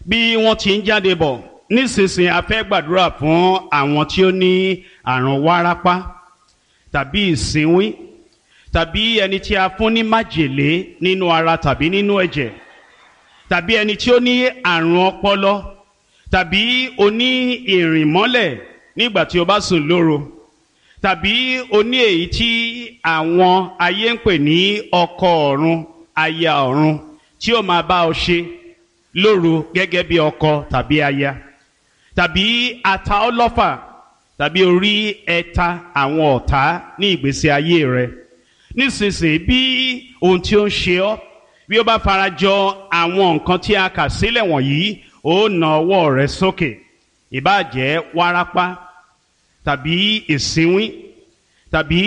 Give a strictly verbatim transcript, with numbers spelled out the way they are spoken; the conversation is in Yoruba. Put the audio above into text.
Bí wọ́n ti ń jáde bọ̀ nísinsìnyí, a fẹ́ gbàdúrà fún àwọn tí ó ní àrùn wárápá tàbí ìsínwín tàbí ẹni tí a fún ní májèlé nínú ara tàbí nínú ẹ̀jẹ̀ tàbí ẹni tí ó ní àrùn ọpọlọ tàbí oní ìrìnmọ́lẹ̀ nígbà tí o bá sùn lóru tàbí oní èyí tí àwọn ayé ń pè ní ọkọ ọ̀run, aya ọ̀run, tí ó máa bá ọ ṣe lóru gẹ́gẹ́ bí ọkọ tàbí aya, tàbí ata ọlọ́fà tàbí orí ẹ̀ta àwọn ọ̀tá ní ìgbésí ayé rẹ. Nísinsìnyí, bí ohun tí ó ń ṣe ọ́ bí ó bá farajọ àwọn nǹkan tí a kà sílẹ̀ wọ̀nyí, ó na ọwọ́ rẹ sókè. Ìbáà jẹ́ wárápá tàbí ìsínwín tàbí